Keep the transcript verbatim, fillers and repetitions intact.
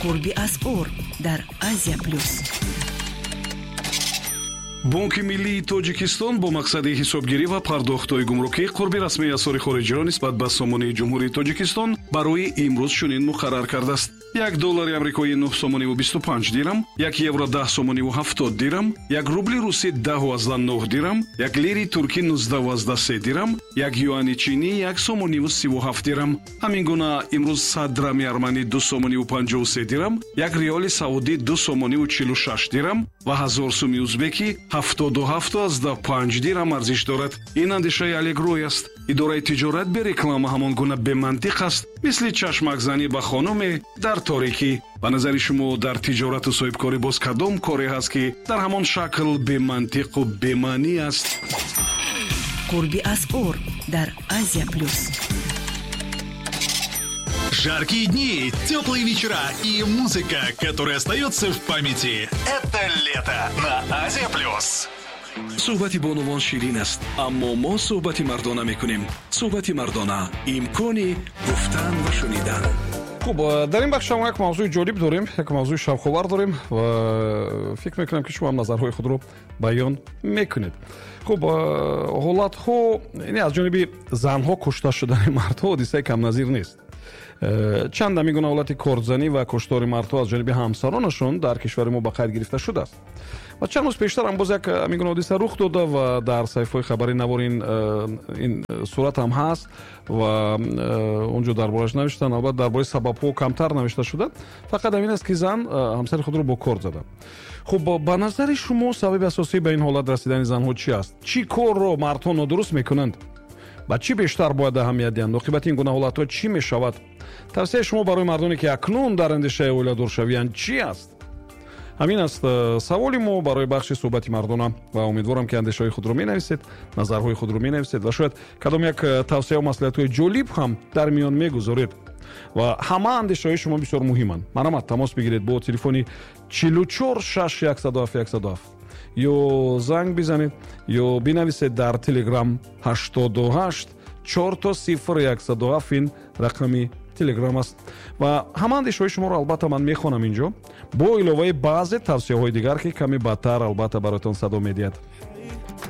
Қурби асъор дар Азия Плюс. Бонки миллии Тоҷикистон бо мақсади ҳисобгирӣ ва пардохтҳои гумрукӣ қурби расмии асъори хориҷиро нисбат ба сомонии Ҷумҳурии Тоҷикистон барои имрӯз чунин муқаррар кардааст: як доллари амрикоӣ нӯҳ сомониву бисту панҷ дирам, як евро даҳ сомониву ҳафтод дирам, як рубли русӣ даҳу азда нӯҳ дирам, як лири туркӣ нуздаҳу азда се дирам, як юани чинӣ як сомониву сиву ҳафт дирам. Ҳамин гуна имрӯз сад драми арманӣ ду сомониву панҷоҳу се дирам, як риёли саудӣ ду сомониву чилу шаш дирам ва ҳазор суми узбекӣ ҳафтоду ҳафту азда панҷ дирам арзиш дорад. Ин андешаи Алегрой аст. Идораи тиҷорат бе реклама ҳамон гуна бемантиқ аст, мисли чашмакзанӣ ба хонуме дар торикӣ. Ба назари шумо, дар тиҷорату соҳибкорӣ боз кадом коре ҳаст, ки дар ҳамон шакл бемантиқу бемаънӣ аст? Қурби асъор дар Азия Плюс. Жаркие дни, теплые вечера и музыка, которая остается в памяти. Это лето на Азия Плюс. Суҳбати бонувон ширин аст, аммо мо суҳбати мардона мекунем. Суҳбати мардона — имкони гуфтан ва шунидан. Хуб, дар ин бахш ҳам як мавзӯи ҷолиб дорем, як мавзӯи шавқовар дорем ва фикр мекунам, ки шумо ҳам назарҳои худро баён мекунед. Хуб, ҳолатҳо, яъне аз ҷониби занҳо кушта шудани мардҳо ҳодисаи камназир нест. Чанд ҳамин гуна ҳолати кордзанӣ ва куштори мардҳо аз ҷониби ҳамсаронашон дар кишвари мо ба қайд гирифта шудааст ва чанд рӯз пештар ҳам боз як ҳамин гуна ҳодиса рух дода ва дар саҳифаҳои хабарӣ навор ин ин сурат ҳам ҳаст ва он ҷо дар борааш навиштанд. Албатта, дар бораи сабабҳо камтар навишта шуда, фақат ҳамин аст, ки зан ҳамсари худро бо корд зада. Хуб, ба назари шумо, сабаби асосӣ ба ин ҳолат расидани занҳо чӣ аст? Чӣ корро мардҳо нодуруст мекунанд? Ба чӣ бештар бояд аҳамият диҳанд? Оқибати ин гуна ҳолатҳо чӣ мешавад? Тавсияи шумо барои мардоне, ки акнун дар андешаи оиладоршавиянд, чӣ аст? Ҳамин аст э, саволи мо барои бахши суҳбати мардона ва умедворам, ки андешаҳои худро менависед, назарҳои худро менависед ва шояд кадом як э, тавсияу маслиҳатҳои ҷолиб ҳам дар миён мегузоред ва ҳама андешаҳои шумо бисёр муҳиманд. Марҳамат, тамос бигиред бо телефони чилу чор шаш яксаду ҳафт яксаду ҳафт ё занг бизанед, ё бинависед дар Телеграм ҳаштоду ҳашт чор то сифр яксаду ҳафт. Ин рақами Телеграм аст ва ҳама андешаҳои шуморо, албатта, ман мехонам инҷо, бо иловаи баъзе тавсияҳои дигар, ки каме баъдтар, албатта, бароятон садо медиҳад.